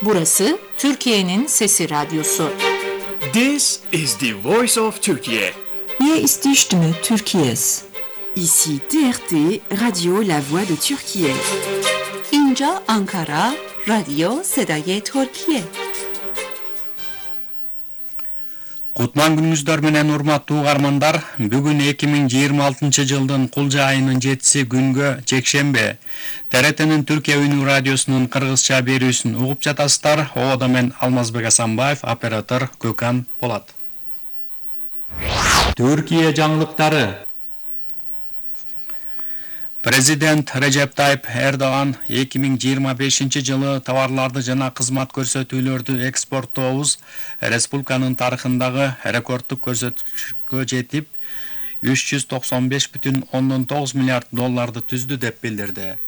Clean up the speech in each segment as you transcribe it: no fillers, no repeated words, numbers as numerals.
Burası Türkiye'nin Sesi Radyosu. This is the voice of Turkey. Hier ist die Stimme Türkiye's. Ici TRT, Radio La Voix de Türkiye. İnca Ankara, Radyo Sedaye Türkiye. Кутман күнүңүздөр менен урматтуу угармандар, бүгүн 2026-жылдын кулжа айынын 7 күнгө жекшембе. ТРТнин Түркия Үнүү радиосунун кыргызча берүүсүн угуп жатасыздар. Оодо мен Алмазбек Асанбаев, оператор Көкан Полат. Түркия жаңылыктары. Президент Режеп Тайып Эрдоган 2025-жылы товарларды жана кызмат көрсөтүүлөрдү экспорттообуз республиканын тарыхындагы рекорддук көрсөткүчкө жетип, 395,9 миллиард долларды түздү деп билдирди.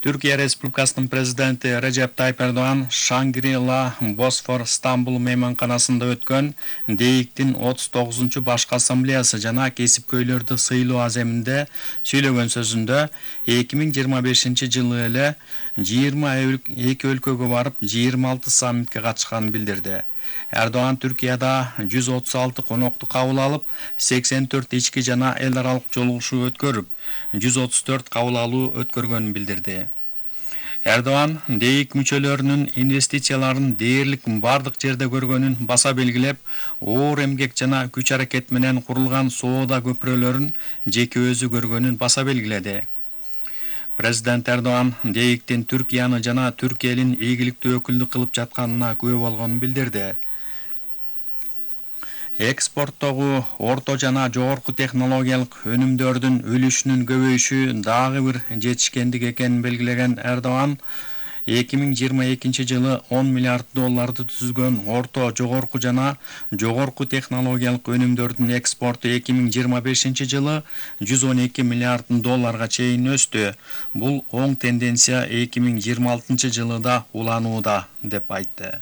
Түркия Республикасынын президенти Режеп Тайып Эрдоган Шангри-Ла Босфор Стамбул мейманканасында өткөн ДЭИКтин 39-чу башкы ассамблеясы жана кесипкөйлөрдү сыйлоо аземинде сүйлөгөн сөзүндө 2025-жылы эле 22 өлкөгө барып 26 саммитке катышканын билдирди. Эрдоган Түркияда 136 конокту кабыл алып, 84 ички жана эл аралык жолугушуу өткөрүп, 134 кабыл алуу өткөргөнүн билдирди. Эрдоган ДЭИК мүчөлөрүнүн инвестицияларын дээрлик бардык жерде көргөнүн баса белгилеп, оор эмгек жана күч аракет менен курулган соода көпүрөлөрүн жеке өзү көргөнүн баса белгиледи. Президент Эрдоган ДЭИКтин Түркияны жана Түркия элин ийгиликтүү өкүлдүк кылып жатканына күбө болгонун билдирди. Экспорттогу орто жана жогорку технологиялык өнүмдөрдүн үлүшүнүн көбөйүшү дагы бир жетишкендик экенин белгилеген Эрдоган 2022-жылы 10 миллиард долларды түзгөн орто, жогорку жана жогорку технологиялык өнүмдөрдүн экспорту 2025-жылы 112 миллиард долларга чейин өстү. Бул оң тенденция 2026-жылы да уланууда деп айтты.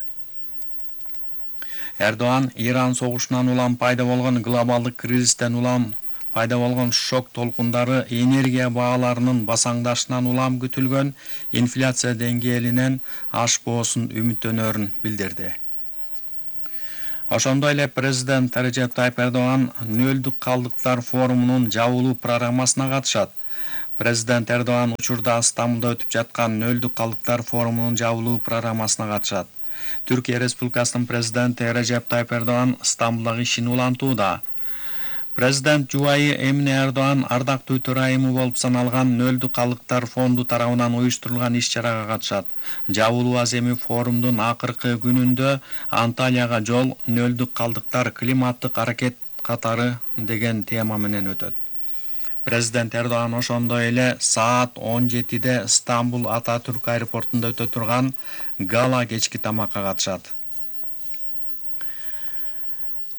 Эрдоган Иран согушунан улам пайда болгон глобалдык кризистен улам пайда болгон шок толкундары энергия бааларынын басаңдашынан улам күтүлгөн инфляция деңгээлинен ашпоосун үмүттөнөрүн билдирди. Ошондой эле президент Режеп Тайып Эрдоган нөлдүк калдыктар форумунун жабылуу программасына катышат. Президент Эрдоган учурда Стамбулда өтүп жаткан нөлдүк калдыктар форумунун жабылуу программасына катышат. Түркия Республикасынын президенти Режеп Тайып Эрдоган Стамбулдагы ишин улантууда. Президент жубайы Эмине Эрдоган ардактуу төрайымы болуп саналган нөлдүк калдыктар фонду тарабынан уюштурулган иш-чарага катышат. Жабылуу аземи форумдун акыркы күнүндө Анталияга жол нөлдүк калдыктар климаттык аракет катары деген тема менен өтөт. Президент Эрдоган ошондой эле саат 17-де Стамбул Ататүрк аэропортунда өтө турган гала кечки тамакка катышат.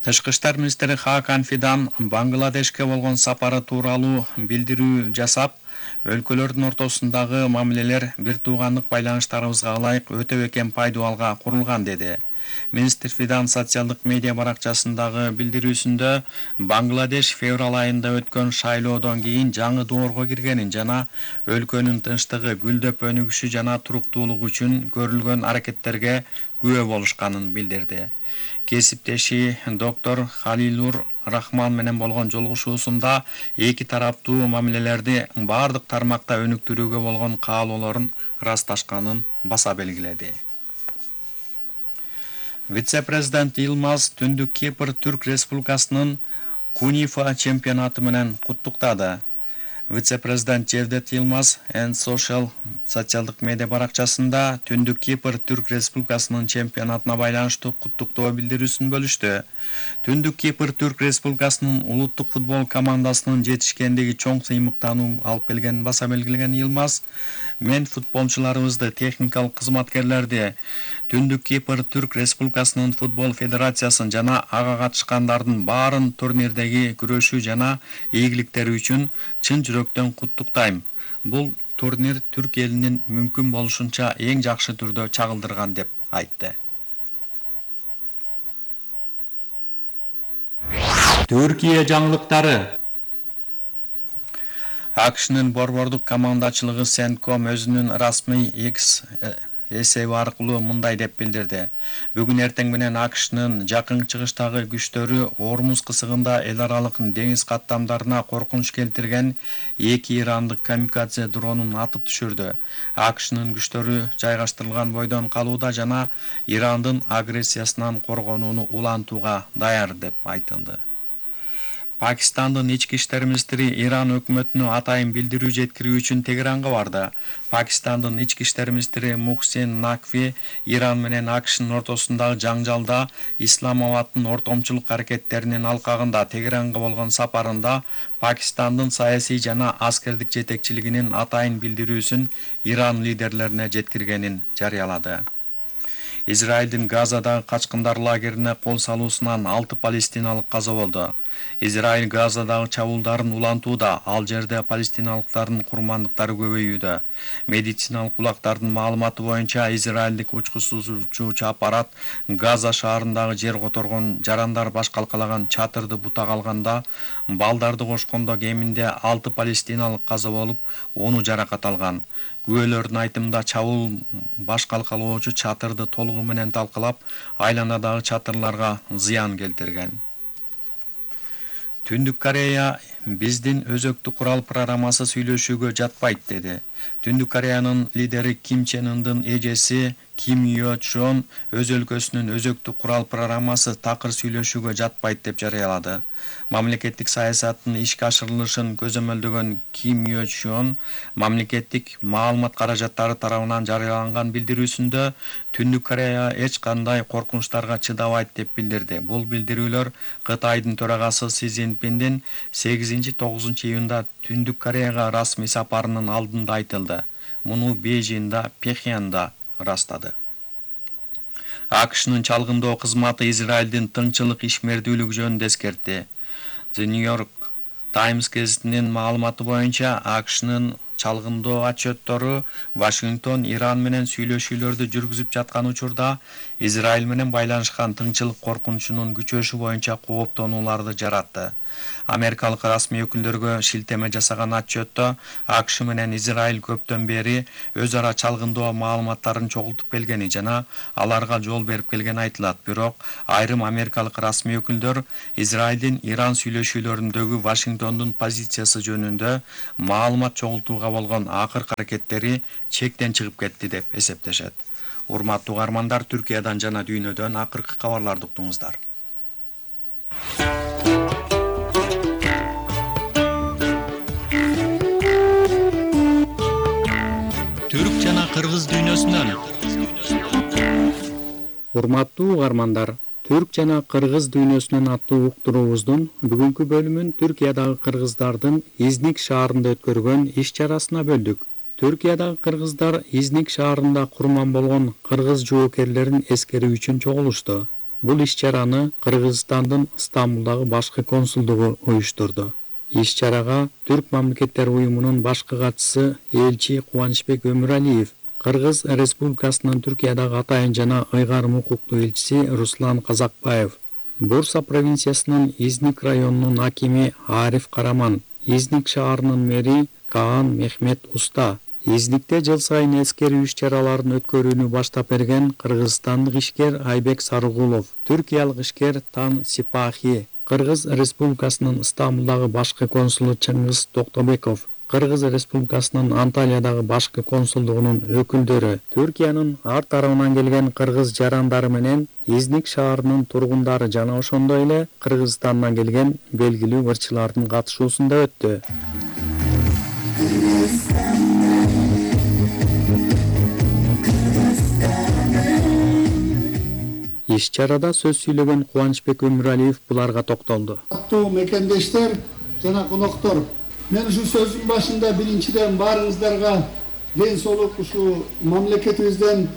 Тышкы иштер министри Хакан Фидан Бангладешке болгон сапары тууралуу билдирүү жасап, өлкөлөрдүн ортосундагы мамилелер бир туугандык байланыштарыбызга ылайык өтө бекем пайдубалга курулган деди. Министр Фидан социалдык медиа баракчасындагы билдирүүсүндө Бангладеш февраль айында өткөн шайлоодон кийин жаңы доорго киргенин жана өлкөнүн тынчтыгы, гүлдөп өнүгүшү жана туруктуулугу үчүн көрүлгөн аракеттерге күбө болушканын билдирди. Кесиптеши доктор Халилур Рахман менен болгон жолугушуусунда эки тараптуу мамилелерди бардык тармакта өнүктүрүүгө болгон каалоолорун ырасташканын баса белгиледи. Вице-президент Илмаз Түндүк Кипр Түрк Республикасынын Кунифа чемпионаты менен куттуктады. Вице-президент Жевдет Илмаз Social социалдык медиа баракчасында Түндүк Кипр Түрк Республикасынын чемпионатына байланыштуу куттуктоо билдирүүсүн бөлүштү. Түндүк Кипр Түрк Республикасынын улуттук футбол командасынын жетишкендиги чоң сыймыктануу алып келгенин баса белгилеген Илмаз, мен футболчуларыбызды, техникалык кызматкерлерди, Түндүк Кипр Түрк Республикасынын футбол федерациясын жана ага катышкандардын баарын турнирдеги күрөшүү жана ийгиликтери үчүн чын жүрөктөн куттуктайм. Бул турнир Түрк элинин мүмкүн болушунча эң жакшы түрдө чагылдырган деп айтты. Түркия жаңылыктары. AQShnын борбордук командачылыгы Сентком өзүнүн расмий эсеби аркылуу мындай деп билдирди. Бүгүн эртең менен AQShnын жакын чыгыштагы күчтөрү Ормуз кысыгында эл аралык деңиз каттамдарына коркунуч келтирген 2 ирандык камикадзе дронун атып түшүрдү. AQShnын күчтөрү жайгаштырылган бойдон калууда жана Ирандын агрессиясынан коргонууну улантууга даяр деп айтылды. Пакистандын ички иштер министри Иран өкмөтүнө атайын билдирүү жеткирүү үчүн Тегеранга барды. Пакистандын ички иштер министри Мухсин Накви Иран менен AQShnын ортосундагы жаңжалда Исламабадтын ортомчулук аракеттеринин алкагында Тегеранга болгон сапарында Пакистандын саясий жана аскердик жетекчилигинин атайын билдирүүсүн Иран лидерлерине жеткиргенин жарыялады. Израилдин Газадагы качкындар лагерине кол салуусунан 6 палестиналык каза болду. Израиль Газадагы чабуулдарын улантууда, ал жерде палестиналыктардын курмандыктары көбөйүүдө. Медициналык булактардын маалыматы боюнча Израилдик учкусуучу аппарат Газа шаарындагы жер которгон жарандар баш калкалаган чатырды бутак алганда, балдарды кошкондо кеминде 6 палестиналык каза болуп, 10 жаракат алган. Күбөлөрдүн айтымында чабуул баш калкалоочу чатырды толугу менен талкалап, айланадагы чатырларга зыян келтирген. Түндүк Корея биздин өзөктүү курал программасы сүйлөшүүгө жатпайт деди. Түндүк Кореянын лидери Ким Чен Ындын эжеси Ким Йо Чон өз өлкөсүнүн өзөктүү курал программасы такыр сүйлөшүүгө жатпайт деп жарыялады. Мамлекеттик саясаттын ишке ашырылышын көзөмөлдөгөн Ким Йо Чон мамлекеттик маалымат каражаттары тарабынан жарыяланган билдирүүсүндө Түндүк Корея эч кандай коркунучтарга чыдабайт деп билдирди. Бул билдирүүлөр Кытайдын төрагасы Си Цзиньпиндин 8-9 июнда Түндүк Кореяга расмий сапарынын алдында айтылды. Муну Бейжиңде, Пхеньянда ырастады. AQShnын чалгындоо кызматы Израилдин тынччылык ишмердүүлүгү жөнүндө эскертти. The New York Times гезитинин маалыматы боюнча AQShnын чалгындоо отчёттору Вашингтон Иран менен сүйлөшүүлөрдү жүргүзүп жаткан учурда Израиль менен байланышкан тынччылык коркунучунун күчөшү боюнча кооптонууларды жаратты. Америкалык расмий өкүлдөргө шилтеме жасаган отчётто AQSh менен Израиль көптөн бери өз ара чалгындоо маалыматтарын чогултуп келгени жана аларга жол берип келгени айтылат. Бирок айрым америкалык расмий өкүлдөр Израилдин Иран сүйлөшүүлөрүндөгү Вашингтондун позициясы жөнүндө маалымат чогултууга болгон акыркы аракеттери чектен чыгып кетти деп эсептешет. Урматтуу угармандар, Түркиядан жана дүйнөдөн акыркы кабарларды уктуңуздар. Түрк жана кыргыз дүйнөсүнөн. Урматтуу угармандар, Түрк жана кыргыз дүйнөсүнөн аттуу уктуруубуздун бүгүнкү бөлүмүн Түркиядагы кыргыздардын Изник шаарында өткөргөн иш-чарасына бөлдүк. Түркиядагы кыргыздар Изник шаарында курман болгон кыргыз жоокерлерин эскерүү үчүн чогулушту. Бул иш-чараны Кыргызстандын Стамбулдагы башкы консулдугу уюштурду. Иш-чарага Түрк мамлекеттер уюмунун башкы катчысы элчи Кубанычбек Өмүралиев, Кыргыз Республикасынын Түркиядагы атайын жана ыйгарым укуктуу элчиси Руслан Казакбаев, Бурса провинциясынын Изник районунун акими Ариф Караман, Изник шаарынын мэри Каан Мехмет Уста, Изникте жыл сайын эскерүү иш-чараларын өткөрүүнү баштап берген кыргызстандык ишкер Айбек Сарыгулов, түркиялык ишкер Тан Сипахи, Кыргыз Республикасынын Стамбулдагы башкы консулу Чыңгыз Токтобеков, Кыргыз Республикасынын Анталиядагы башкы консулдугунун өкүлдөрү, Түркиянын ар тарабынан келген кыргыз жарандары менен Изник шаарынын тургундары жана ошондой эле Кыргызстандан келген белгилүү ырчылардын катышуусунда өттү. Иш-чарада сөз сүйлөгөн Кубанычбек Өмүралиев буларга токтолду. Аттуу мекендештер жана коноктор, мен ушу сөздүн башында биринчиден баарыңыздарга ден соолук, ушу мамлекетибизден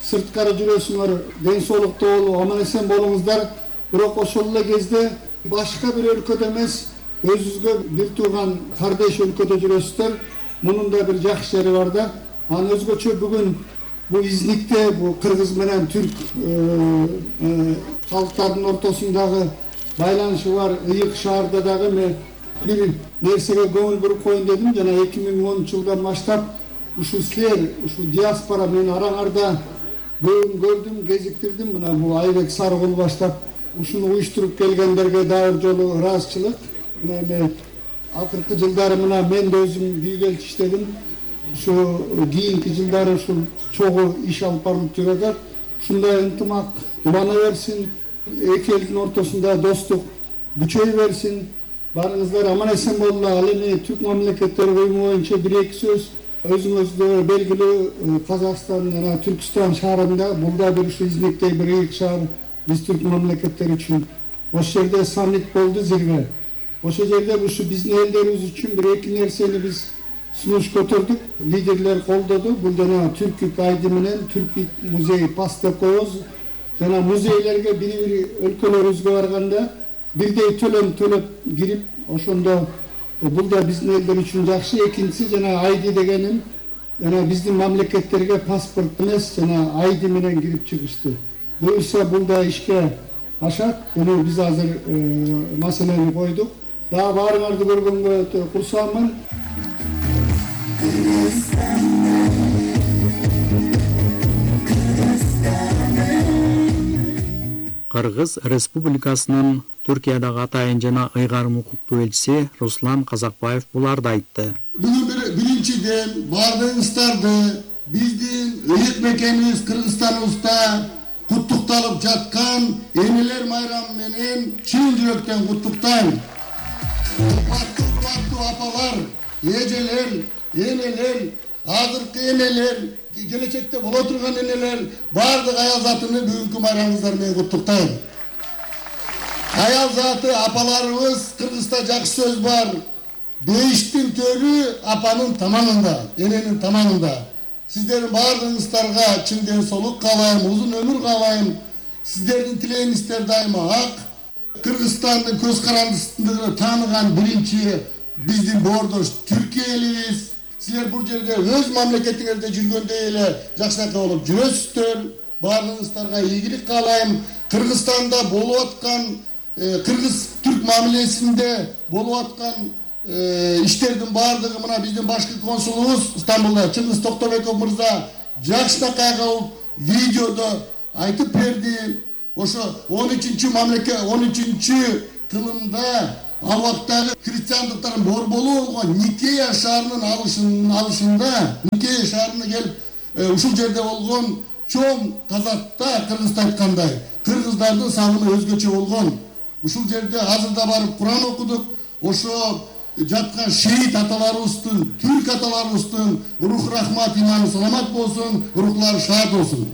сырткары жүрөсүңөр, ден соолукта болуп, аман эсен болуңуздар. Бирок ошол эле кезде башка бир өлкөдө эмес, өзүңүзгө бир тууган кардеш өлкөдө жүрөсүздөр. Мунун да бир жакшы жери бар да. Анан өзгөчө бүгүн бу Изникте бу кыргыз менен түрк калктардын ортосундагы байланышы бар ыйык шаарда дагы мен бир нерсеге көңүл буруп коеюн дедим. Жана 2010 жылдан баштап ушу силер ушу диаспора мен араңарда бүгүн көрдүм, кезиктирдим. Мына бул Айбек Сарыгул баштап ушуну уюштуруп келгендерге дагы бир жолу ыраазычылык. Мына эми акыркы жылдары мына мен да өзүм бийгелчи иштедим. Ушу кийинки жылдары ушул чогуу иш алып барылып жүрөт. Ушундай ынтымак улана берсин, эки элдин ортосунда достук күчөй берсин. Барыңыздар аман эсен болула. Ал эми Түрк мамлекеттери уюму боюнча бир-эки сөз өзүңүздө белгилүү Казакстан жана Түркстан шаарында бул да бир ушу измектей бир ыйык шаар биз түрк мамлекеттери үчүн. Ошол жерде саммит болду, зирве. Ошол жерде ушу биздин элдерибиз үчүн бир эки нерсени биз сунуш көтөрдүк. Лидерлер колдоду. Бул жана Түркүк айды менен Түркүк музей пас деп коебуз. Жана музейлерге бири-бири өлкөлөрүбүзгө барганда бирдей төлөм төлөп кирип, ошондо бул да биздин элдер үчүн жакшы. Экинчиси жана айды дегеним жана биздин мамлекеттерге паспорт эмес, жана айды менен кирип чыгышты. Буюрса бул да ишке ашат. Муну биз азыр маселени койдук. Дагы баарыңарды көргөнгө өтө курсаамын. Кыргыз Республикасынын Түркиядагы атайын жана ыйгарым укуктуу элчиси Руслан Казакбаев буларды айтты. Бүгүн биринчиден баардыгыңыздарды биздин ыйык мекенибиз Кыргызстаныбызда куттукталып жаткан энелер майрамы менен чын жүрөктөн куттуктайм. Урматтуу апалар, эжелер, энелер, азыркы энелер, келечекте боло турган энелер, баардык аял затыны бүгүнкү майрамыңыздар менен куттуктайм. Аял заты апаларыбыз Кыргызда жакшы сөз бар. Бейиштин төрү апанын таманында, эненин таманында. Сиздердин баардыгыңыздарга чын ден соолук каалайм, узун өмүр каалайм. Сиздердин тилегиңиздер дайыма ак. Кыргызстандын көз карандысындыгы тааныган биринчи биздин боордош Түркия элибиз. Силер бул жерде өз мамлекетиңерде жүргөндөй эле жакшынакай болуп жүрөсүздөр. Баардыгыңыздарга ийгилик каалайм. Кыргызстанда болуп аткан кыргыз-түрк мамилесинде болуп аткан иштердин баардыгы мына биздин башкы консулубуз Стамбулда Чыңгыз Токтобеков мырза жакшынакай кылып видеодо айтып берди. Ошо 13-13 тылымда ал убактагы христиандыктардын борболу болгон Никея шаарынын алышында Никея шаарына келип ушул жерде болгон чоң казатта кыргызда айткандай кыргыздардын салымы өзгөчө болгон. Ушул жерде азырда барып Куран окудук. Ошо жаткан шейит аталарыбыздын, түрк аталарыбыздын рух рахмат иманы саламат болсун, рухлары шаат болсун.